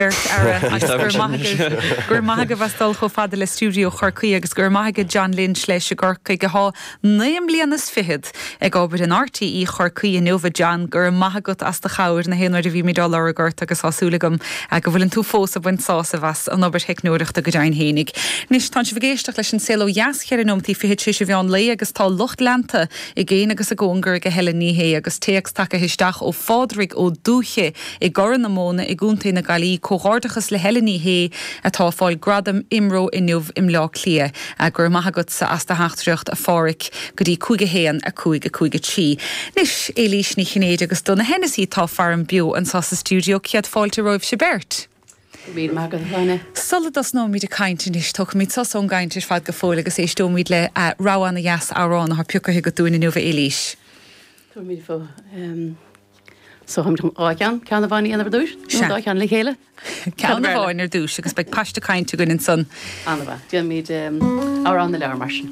Beirt fhear agus go raibh maith agaibh, go raibh maith agaibh as dul chomh fada le stiúideo Chorcaí agus go raibh maith ag John Lynch leis i gCorcaigh athá naoi mbliana is fichead ag obair in RTÉ Chorcaí inniu. A John, go raibh maith agat as do chabhair na haon uair a bhímid á lorg ort agus tá súil agam go bhfuileann tú fós ag baint sásaimh as an obair theicneoireachta go deimhin fhéinig. Anois, tánn sibh ag éisteacht leis an Saol Ó Dheas, cheithre nóimeataí fichead tar éis an mheán lae agus tá lucht leanta i gcéin agus i gcóngar ag Helen Ní Shé agus téacs tagaithe isteach ó Phádraig Ó Dúiche i gCorr na Móna i gContae na Gaillimhe, Comhghairdeachas le Helen Ní Shé atá ag fáil gradam IMRO inniu i mBleá Cliath. Go raibh maith agatsa as do theachtaireacht, a Pháraic, go dtí 5 1 5 5 3. Anois, Éilís Ní Chinnéide agus Donagh Hennessy atá faram beo anseo sa stiúideo. Céad fáilte romhaibhse beirt. Go raibh míle maith agat, a Shláine. Sula dtosnóimid ag caint anois, tógfaimid sos ón gcaint ar fad go fóill agus éisteoimid le rogha ana-dheas amhrán atá pioctha agat dúinn inniu, a Éilís. Tabharfaimid fó. So táimid chun dhá cheann, ceann amháin a dhéanamh ar dtús, nó an dá cheann le chéile? Ceann amháin ar dtús agus beidh paiste cainte againn ansan. An-mhaith. Déanfaimid Amhrán na Leabhar mar sin.